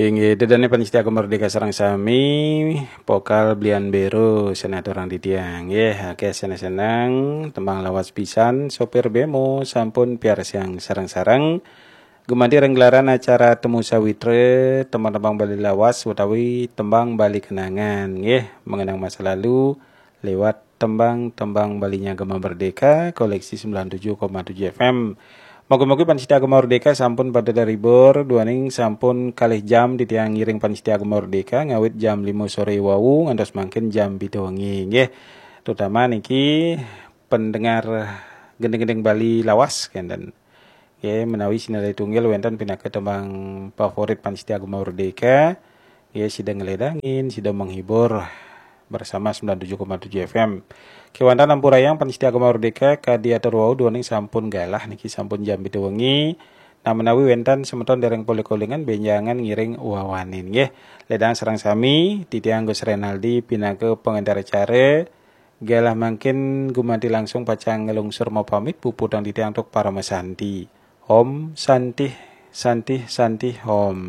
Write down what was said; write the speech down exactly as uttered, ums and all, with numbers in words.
Inggih, ida dané pamiarsa Gema Merdeka sareng sami, pokal belian bero sanaturang titiang. Nggih, akéh seneng-seneng, tembang lawas pisan, sopir bemo sampun piarsang sareng-sareng. Gumanti ring gelaran acara Temu Sawitra, tembang-tembang Bali lawas utawi tembang Bali kenangan, nggih, mengenang masa lalu lewat tembang-tembang Balinya Gema Merdeka, koleksi sembilan tujuh koma tujuh F M. Mogi-mogi pamiarsa Gema Merdeka sampun pada terhibur, duaning sampun kalih jam titiang ngiring pamiarsa Gema Merdeka, ngawit jam lima sore wau ngantos mangkin jam pitu wengi, nggih. Terutama niki pendengar gending-gending Bali lawas kenten. Nggih, menawi sinalih tunggil wénten pinaka tembang favorit pamiarsa Gema Merdeka, nggih, sida ngeledangin, sida menghibur bersama sembilan tujuh koma tujuh F M. Kéwanten ampurayang pamiarsa Gema Merdeka, kadi atur wau duaning sampun galah niki sampun jam pitu wengi. Nah, menawi wénten semeton dereng polih kolingan, bénjangan ngiring wawanin, nggih. Ledang sareng sami, titiang Gus Renaldi pinaka pengantar acara. Galah mangkin gumanti langsung pacang nglungsur mapamit, puputang titiang antuk parama santi. Om Santih, Santih, Santih, Om.